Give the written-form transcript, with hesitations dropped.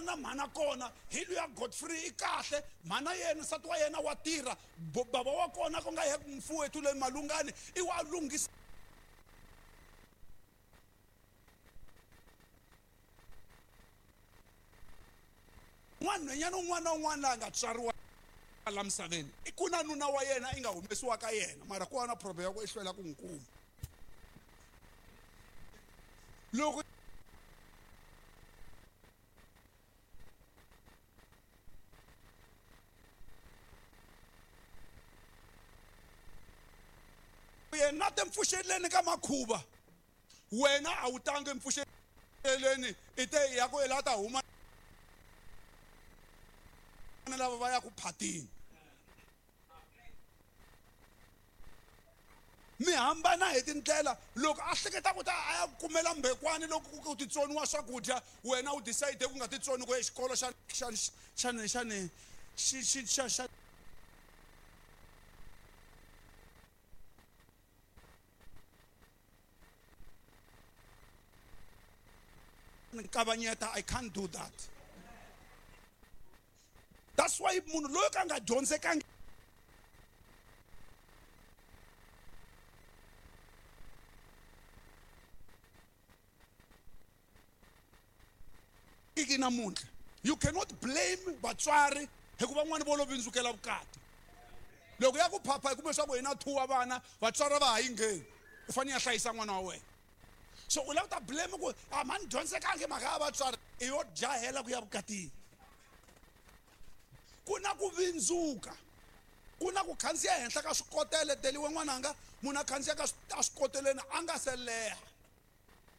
twana na mhana kona hi luya Godfrey i kahle mhana yena nsati wa yena wa tirha baba wa kona ku nga ye mfuwethu le malungani i wa lunghisa n'wanhwenyana un'wana na un'wana la nga tswariwa la misaveni i ku na nuna wa yena i nga humesiwa ka yena mara ku va na problem ya ku i hlwela ku n'wi kuma loko yena te mpfuxeleni ka makhuva wena a wu tangi mpfuxeleni i te ya ku la ta huma na lava va ya ku phatini mi hambana hi tindlela loko a hleketa ku ta a ya kumela mbekwani loko ku titsoniwa swakudya wena u decide ku nga titsoni ku xikolo xa xa xa xa xi xa xa ni kavanyeta i can't do that that's why munhu loyi ka nga dyondzekangi iki namuntlha you cannot blame vatswari hikuva van'wana vo lo vindzukela vukati loko ya ku phapha hi kume swa ku hina thuwa vana vatswari va ha yi ngheni u fanele ya hlayisa n'wana wa wena so u lava ku ta blame ku a mani dyondzekangi mhaka ya vatswari i yo jahela ku ya vukatini ku na ku vindzuka ku na ku khandziya henhla ka swikotele deliwe n'wananga munhu a khandziya ka a swikoteleni a nga se leha.